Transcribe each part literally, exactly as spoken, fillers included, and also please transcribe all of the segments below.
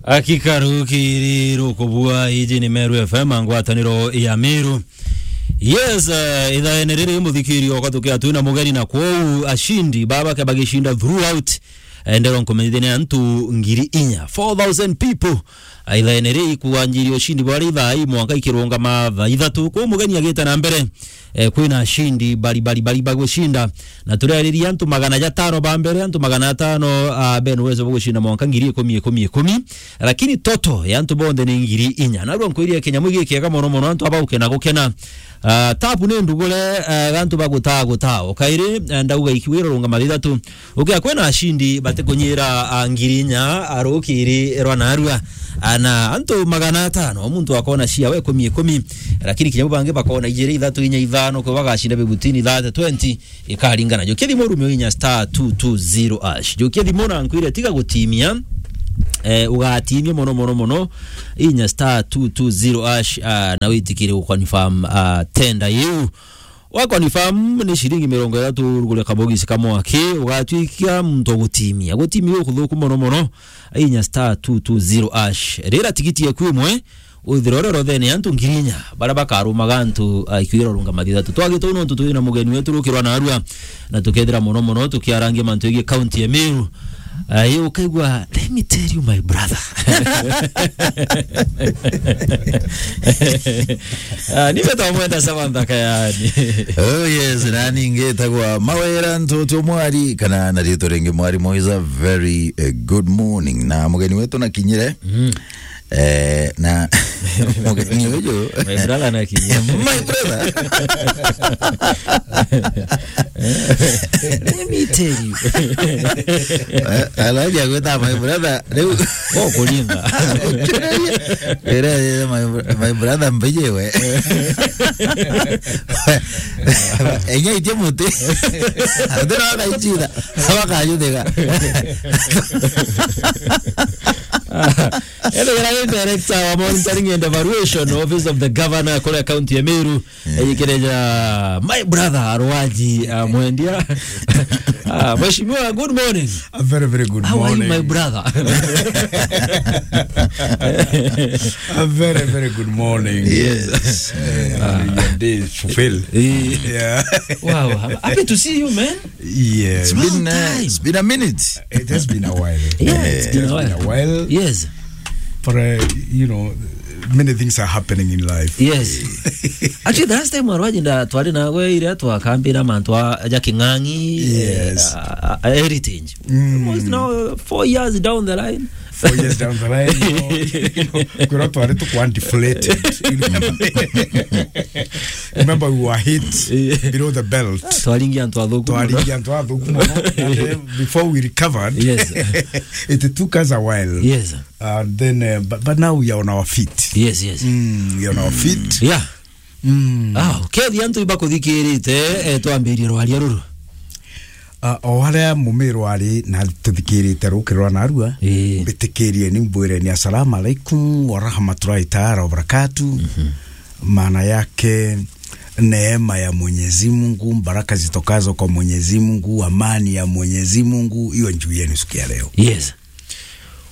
Hakika rukiri rukubua, iji ni Meru F M, ngwataniro ya Meru. Yes, eh, ithaene riri muthikirio, kwa tukia twina mugeni, na kwou ashindi baba ke bagishinda throughout, eh, ndero nkumenyithia ni antu ngiri inya, four thousand people. Ah, ithaene riri kuanjiria ushindi bwari thaa ii mwanka ikirungama thaa ithatu. Kwou mugeni agita na mbere, eh, kwina ashindi bari, bari, bari bagushinda. Na turariria antu magana jatano ba mbere, antu magana atano, ah, bene uwezo bwa gushinda mwanka ngiri ikumi, ikumi, ikumi. Lakini toto ya antu bonthe ni ngiri inya. Narua nkwiria kinyamu giki kiega mono mono, antu abauke na gukena. Ah, tabu ni ndugure, ah, antu bagutaa gutaa. O kairi, ah, ndauga ikiwira runga mathithatu. Ukia kwina ashindi batikunyira, ah, ngiri inya, ah, rukiri rwa narua. Ah, na antu magana atano, muntu akona cia we ikumi, ikumi. Lakini kinyamu bangi bakona ijiri, ithatu, inya, ithano, kwe bagashinda bibutini, thirty, twenty. Ikaringana. Jukia thimu urumio inya star two two zero hash. Jukia thimu na nkwire tiga gutimia. Eh, ugatimia mono, mono, mono. Inya star two two zero hash, ah, na witikire guconfirm, ah, tender iu. Wa confirm ni shilingi mirongo ithatu rugure kabogisi kamwe aki, ugatwikia muntu gutimia. Gutimia ukuthuku mono, mono. Inya star two two zero hash. Rira tigiti yaku imwe, withire uri rothene ya antu ngiri inya, baria bakarumaga antu, ah, ikiwira runga mathithatu. Twagite uu nontu twina mugeni wetu rukirwa narua, na tukethira mono mono tukiarangia mantu yegii county ya Meru. Ah, ii ukaigua, "Let me tell you, my brother." Ah, ni mbeta mwenda Samantha Kayani. Oh yes, nani ngitagwa Mawira Ntutu Mwari, kana na ritwa ringi Mwari Moiza. Very, eh, good morning. Na mugeni wetu nakinyire. Mm. Eh, na mugeni uyu. My brother nakinyia. My brother. Let me tell you. Eh, alaja gwita my brother. Riu. Oh, kulinga. Ira, ira, my, my brother mbiye we. Enya itie muti. Ndira na ichira. Abakayuthega. Ethagirwa ni director wa monitoring and evaluation, Office of the Governor, kuria county ya Meru. Eh. Eyikirija my brother Arwaji, ah, Mwendia. Ah, Mheshimiwa, good morning. A very, very good morning. How are you, my brother? A very, very good morning. Yes. Eh, your day is fulfilled. Eh. Yeah. Wow, I'm happy to see you, man. Yeah. It's long been, uh, time. It's been a minute. It has been a while. Yeah, it's been a while. It has been a while. Yes. But, uh, you know, many things are happening in life. Yes. Actually, the last time Arwaji nda twari nawe iria twakambira mantu a, ja King'ang'i, eh, yes, a, a, a heritage. Mm. Almost now, uh, four years down the line. Four years down the line, you know, you know, kwirwa twari tukwa deflated. You remember? Remember we were hit, yeah, below the belt. Ah, twaringia antu athuku muno. Twaringia antu athuku muno. And, uh, before we recovered, yes, it took us a while. Yes. And then, uh, but, but now we are on our feet. Yes, yes. Mm, we are on our feet. Yeah. Mm. Ah, kethi antu ibakuthikirite, eh, twambirie rwaria ruru. Ah, o aria mumirwari na tuthikirite rukiri rwa narua, ii, mbitikirie ni mbwire ni assalamu alaikum wa rahmatullahi taala wa barakatuh. Mhm. Maana yake, neema ya Mwenyezi Mungu, baraka zitokazo kwa Mwenyezi Mungu, amani ya Mwenyezi Mungu, iwe juu yenu siku ya leo. Yes.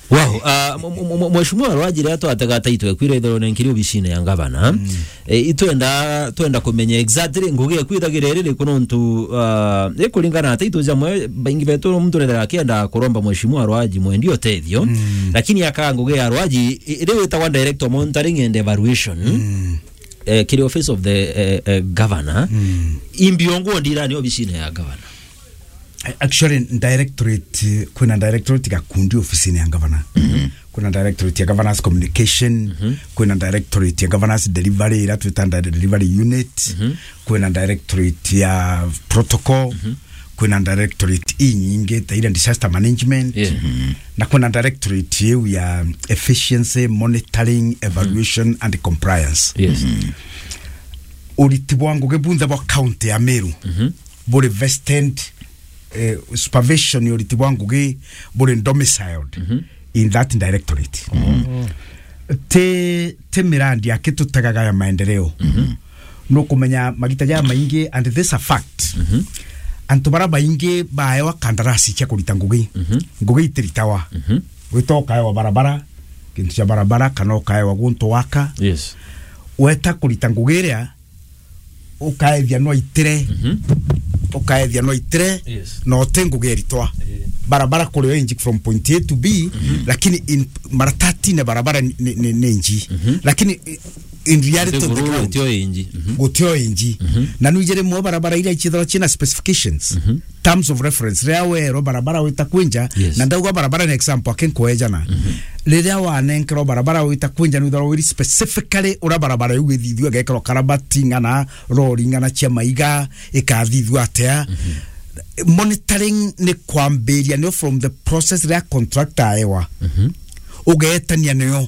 Wow, ah, m-, m-, m-, Mheshimiwa Rwaji, riria twatega taitwe kwira ithero nenkiri obisine ya ngavana, mm, eh, itwenda, twenda kumenya exactly ngugi eku ithagira iri riku nontu, ah, ikuringana na taitwe jamwe, baingi betu muntu rethera akienda kuromba Mheshimiwa Rwaji Mwendi utethio, mm, lakini aka ngugi ya Rwaji, i-, riu itagwa director monitoring and evaluation, mm, eh, kiri office of the, eh, eh, governor, mm, imbiongo ndirani obisine ya governor. Actually, directorate, kwina directorate gakundi ofisini ya governor. Mhm. Kwina directorate ya governance communication, mhm, kwina directorate ya governance delivery, ira twita delivery unit, mhm, kwina directorate ya protocol, mhm, kwina directorate inyingi ta ira disaster management, yeah, mhm, na kwina directorate iu ya efficiency, monitoring, evaluation, mhm, and compliance. Yes. Mhm. Uriti bwa ngugi bunthe bwa county ya Meru, mhm, buri vested, eh, supervision ya uriti bwa ngugi buri domiciled, mhm, in that directorate. Mhm. Ti, ti mirandi aki tutegaga ya maendeleo. Mhm. Nukumenya magita jaya maingi, and this a fact. Mhm. Antu bara baingi baewa kandarasi cia kurita ngugi. Mhm. Ngugi itiritawa. Mhm. Gwita ukaewa barabara, kintu cia barabara, kana ukaewa guntu waka. Yes. Weta kurita ngugi iria, ukaethia no itire, Mhm. ukaethia no itire, Yes. na uti ngugi eritwa. Eh. Barabara kuri o inji from point A to B, Mhm. lakini in mara thirteen barabara ni, ni, ni, ni inji. Mhm. Lakini in reality on the ground, gutio inji. Mhm. Gutio inji. Mhm. Na nwiji rimwe barabara iria ichithirwa china specifications. Mhm. Terms of reference. Riria werwa barabara wita kwinja, Yes. na ndauga barabara ni example, aki nkuejana. Mhm. Riria wanenkerwa barabara wita kwinja, nwithirwa wiri specifically uria barabara iu ithithua, gekerwa karabati, ng'ana, rori, ng'ana cia maiga, ikathithua atia. Mhm. Monitoring ni kwambiria nio from the process riria contractor aewa. Mhm. Ugeetania nio.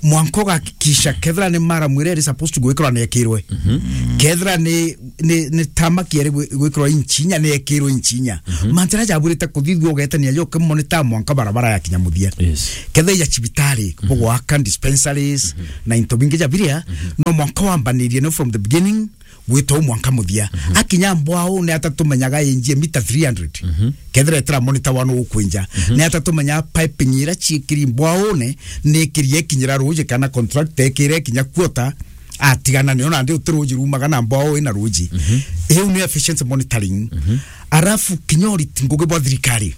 Mwanka ugakikisha kethira ni mara mwire iri supposed to gwikirwa niekirwe. Mhm. Kethira ni, ni, ni tamaki iri gwi-, gwikirwa inchinya niekirwe inchinya. Mhm. Mantira jabwirite kuthithua ugetania jo kimone ta mwanka barabara yakinya muthia. Yes. Kethira ya cibitari, Mhm. bugwaka dispensaries, Mhm. na into bingi jabiria, Mhm. no mwanka wambanirie no from the beginning, gwita u mwanka muthia. Mhm. Akinya mbwau ni atatumenyaga injie mita three hundred. Mhm. Kethira etira monitor wano ukwinja. Mhm. Ni atatumenyaga piping ira ciikiri mbwaune ni ikirie ikinyira ruji kana contract ekire ikinya quarter, atigana nio nandi uti ruji rumaga na mbwau ina ruji. Mhm. Iu ni efficiency monitoring. Mhm. Arafu kinya uriti ngugi bwa thirikari.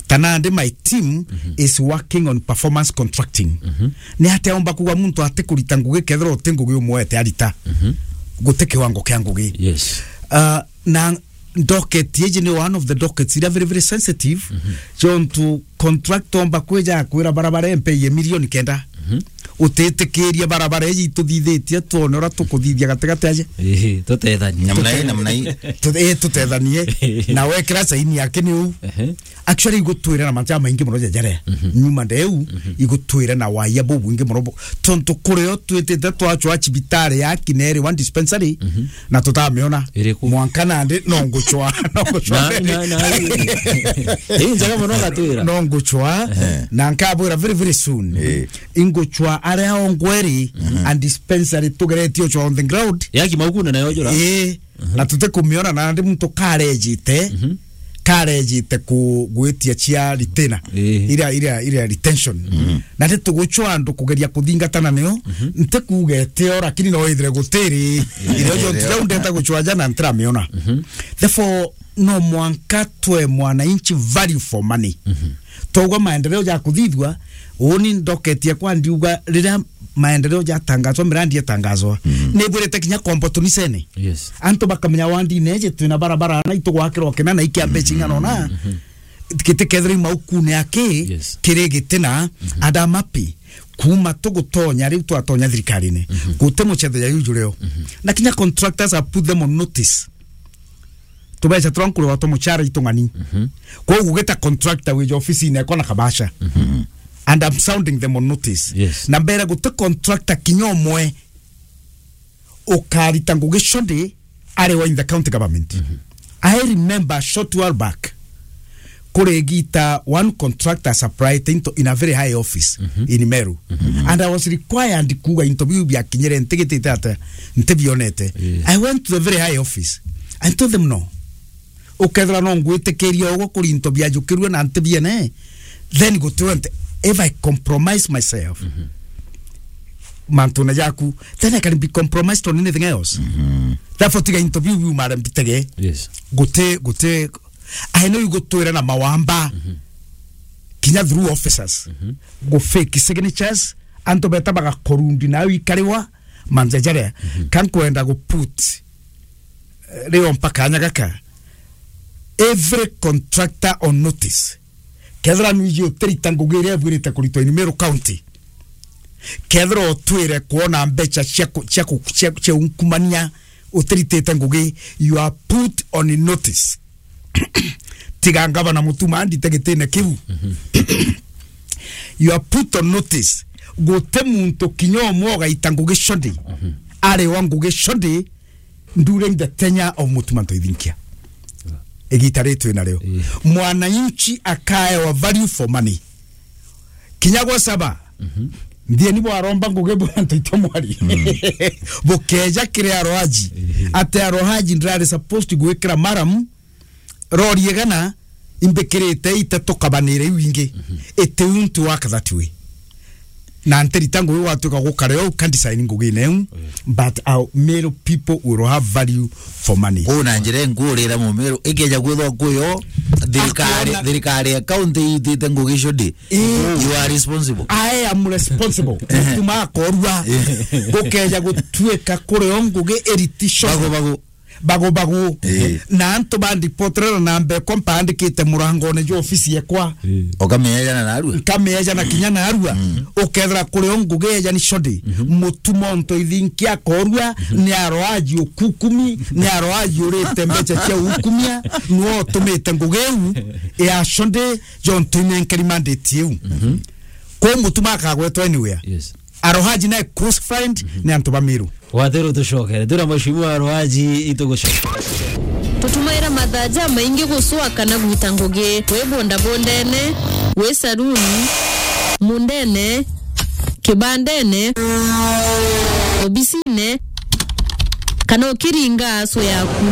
Tanandi my team Mhm. is working on performance contracting. Mhm. Ni atia omba kuga muntu ati kurita ngugi kethira uti ngugi umwete arita? Mhm. Guti kiwango kia ngugi. Yes. Uh, na docket iji ni one of the dockets iria very, very sensitive. Mhm. Jontu contractor omba kwija akwira barabara empe ye milioni kenda. Mhm. Utitikiria barabara iji ituthithitie twone uria tukuthithia gatigati aje. Ii, tutethanie. Namna hii, namna hii. Tu-, ii, tutethanie. Na wekira saini yake ni uu. Ehe. Actually, igutwira na macha maingi muno jajare. Mhm. Nyuma ndeu, Mhm. igutwira na waya bubwingi muno bu-, tontu kurio twitite twachwa cibitari ya Kinere one dispensary, Mhm. na tutamiona. Iriku? Mwanka nandi, no nguchwa, no nguchwa. Na, na, na, ii njega muno gatwira. No nguchwa, Ehe. na nkabwira very, very soon. Ii. Inguchwa aria ongweri, Mhm. and dispensary tugeretie uchwa on the ground. Yaki maukune nayo jura? Ii. Mhm. Na tutikumiona na ndi muntu karejite, Mhm. karejite ku-, gwitia cia retainer. Ii. Iria, iria, iria retention. Mhm. Na ndi tuguchwa andu kugeria kuthingatana nio, Mhm. nti kuuga eteo, lakini no ithire gutiri. Ii. Irio jo Ii. tirau ndeta guchwa jana ntiramiona. Mhm. Therefore, no mwanka twe mwananchi value for money. Mhm. Twauga maendeleo ja kuthithua, uni ndoketie kwa ndiuga riria maendeleo jatangazwa, mirandi yatangazwa, Mhm. nibwirite kinya kombo tunisene. Yes. Antu bakamenya wandi neje twina barabara na itugwakirwa kina na ikia mbeca ing'ana ona. Mhm. Giti kethira imaukune aki, Yes. kiri gitina, Mhm. and I'm happy. Kuma tugutonya riu twatonya thirikarine. Mhm. Guti muchetho ya yuju rio. Mhm. Na kinya contractors have put them on notice. Tubeca turia nkurigwa twa muchara itung'ani. Mhm. Koguo gita contractor wija ofisine ekwa na kabasha. Mhm. And I'm sounding them on notice. Yes. Na mbere guti contractor kinya umwe ukarita ngugi shodi ari wa in the county government. Mhm. I remember a short while back, kuri gita one contractor supplied into in a very high office Mhm. in Meru. Mhm. And I was required kuga into biu biakinyire ntigitite ata ntibionete. Yes. I went to the very high office. I told them no. Ukethira no ngwitikiria uguo kuri into biajukirue na ntibiene, then gutiwe nti, if I compromise myself, Mhm. mantune jaku, then I can be compromised on anything else. Mhm. Therefore, tiga into biu biu mare mbitege. Yes. Guti, guti, I know you gutwira na mawamba. Mhm. Kinya through officers. Mhm. Gu fake signatures, antu beta bagakorundi na ikariwa, manjajare. Mhm. Kan kwenda gu put, eh, rio mpaka anya gaka. Every contractor on notice. Kethira nwiji utirita ngugi iria ibwirite kuritwa in Meru County, kethira utwire kuona mbeca cia ku-, cia ku-, cia, cia unkumania utiritite ngugi, you are put on notice. Tiga ngavana Mutuma andite gitine kiu. You are put on notice. Guti muntu kinya umwe ugaita ngugi shodi. Ari wa ngugi shodi during the tenure of Mutuma Ntoithinkia. Igita ri twina rio. Ii. Mwananchi akaewa value for money. Kinya gwa saba. Mhm. Ndieni bwaromba ngugi bwa Ntoito Mwari. Mm. Bukeja kiri aroaji. Ii. Ate aroaji ndirari supposed gwikira maram rori igana imbikirite itatu kabanire iu ingi. Mhm. It won't work that way. Na ntirita ngugi gwatuika gukare o kandisaini ngugine eu, but our Meru people will have value for money. Kwou na njira inkurira Mumiru, ikeja kwithwa kwi o, thirikari, Akona- thirikari ya county itite ngugi shudi. Ii. You are responsible. I am responsible. Mutuma akorua. Gukeja gutuika kuri o ngugi iriti shudi. Bagu, bagu. Bagu, bagu. Ii. Na antu bandipoterera na mbeko mpandikite murangone jwa ofisi yekwa. Ukamieja na narua. Nkamieja na kinya narua. Ukethira kuri o ngugi eja ni shudi. Mutuma onto ithinki akorua, ni aroaji ukukumi, ni aroaji urite mbeca cia ukumia, niwe utumite ngugi iu ya shudi, jontu inenkeri mandate iu. Kwou Mutuma akagwetwa anywhere. Yes. Arohaji nae close friend ni antu ba Meru. Wathiru tucokere. Twira Mheshimiwa Arohaji itugucokera. Tutumaira mathaa jamaingi gucwa kana gwita ngugi. Wi bondabondene, wi saruni, mundene, kibandene, obisine, kana ukiringa aso yaku.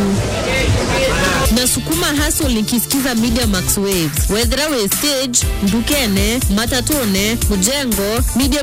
Na sukuma hustle nikisikiza Media Max Waves. Wethira wi stage, ndukene, matatune, mujengo, Media